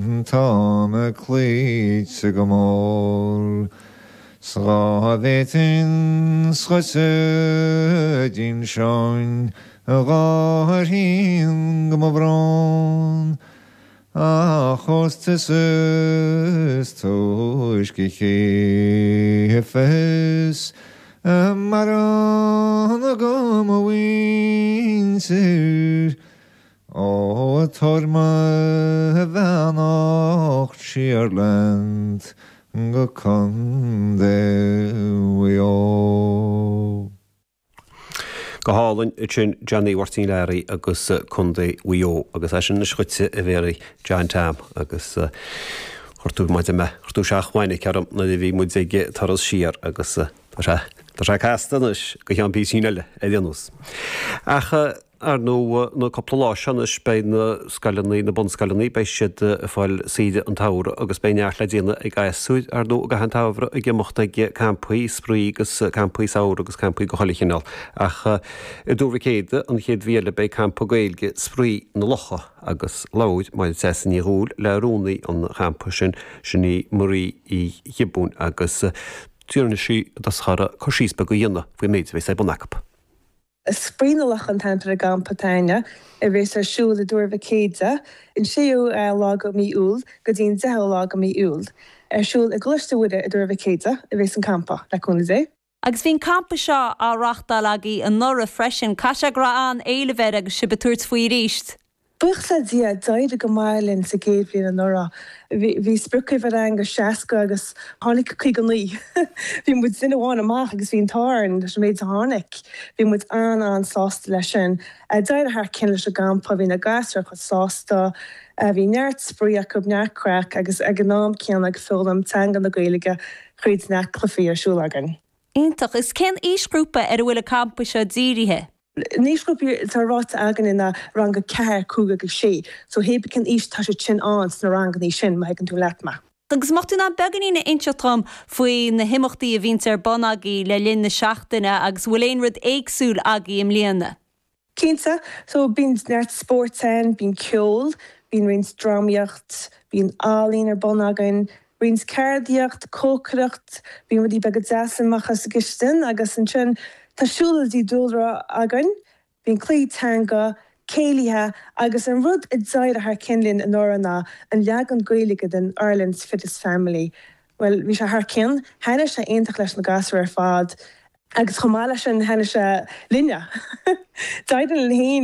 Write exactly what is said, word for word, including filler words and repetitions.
Tá mé cloíte go mór 's dhá bhféadfainn scoite d'inseoinn a gháirín go mo bhrón Ach ós tusa is túisce a chífeas a mbarán agam mo mhuintir Ó tabhair mo bheannacht siar leat go Contae Mhaigh Eo. Go hálainn sin Johnny Mháirtín Learaí agus Contae Mhaigh Eo agus é sin anois dhuitse a Mhéaraí John Tom agus chuir tú maide me chuir tú seachmhainic orm nuair a bhí muid ag turas siar agus tá sé tá sé casta anois go cheann píosín eile ar aon nós. Ach ar ndóigh na cúpla lá seo anois beidh na scoileanna na bunscoileanna beidh siad ag fáil saoire an tsamhraidh agus beidh neart le déanamh ag gasúir ar ndóigh i gcaitheamh an tsamhraidh ag imeacht ag campaí spraoi agus campaí samhraidh agus campaí de chuile chineál. Ach i dTuar Mhic Éadaigh an chéad mhí eile beidh campa Gaeilge Spraoi na Locha agus labhair Máire Treasa Ní Dhubhghaill le rúnaí an champa sin sin í Marie Uí Ghiobúin agus d'iarr sí uirthi cur síos beag a dhéanamh faoin méid a bheas ar bun acu. Spraoi na Locha an t-ainm ar an gcampa againne a bheas ar siúl i dTuar Mhic Éadaigh an séú lá de mhí Iúil go dtí an deichiú lá de mhí Iúil. Ar siúl i gColáiste Mhuire i dTuar Mhic Éadaigh a bheas an campa le cúnamh Dé. Agus bhí an campa seo á reáchtáil agaibh anuraidh freisin, Caithfidh sé go raibh an-éileamh air agus sibh ag tabhairt faoi arís. Buíochas le Dia d'éirigh go maith linn sa gcéad bhliain anuraidh. Bhí spriocuimhir againn go seasca agus tháinig caoga naoi. Bhí muid duine amháin amach agus bhí an t-ádh orainn leis an méid a tháinig. Bhí muid an-an-sásta leis sin. D'éirigh thar cionn leis an gcampa, bhí na gasúir chomh sásta, bhí neart spraoi acu neart craic agus ag an am céanna ag foghlaim teanga na Gaeilge tríd na cluichí ar siúl againn. Iontach is cén aoisghrúpa ar a bhfuil an campa seo dírithe. An aoisghrúpa atá ráite againn ná rang a ceathair cúig agus sé, so hé cén aois tá sé sin ann sna ranganna sin má thuigeann tú leat mé. Agus má tá tú in ann beagáinín a inseacht dom faoi na himeachtaí a bhíonn ar bun agaibh le linn na seachtaine agus bhfuil aon rud éagsúil agaibh i mbliana. Cinnte, so bíonn neart spóirt ann, bíonn ceol, bíonn roinnt drámaíocht, bíonn ealaín ar bun againn, roinnt ceardaíocht, cócaireacht, bíonn rudaí beaga deasa amach as an gcistin agus ansin tá siúlóidí dúlra againn, bíonn cluichí teanga, céilithe agus an rud a d'éirigh thar cionn linn anuraidh ná an leagan Gaeilge den Ireland's Fittest Family. Well bhí sé thar cionn, thaitnigh sé iontach leis na gasúir ar fad agus chomh maith leis sin thaitnigh sé linne. D'éirigh linn féin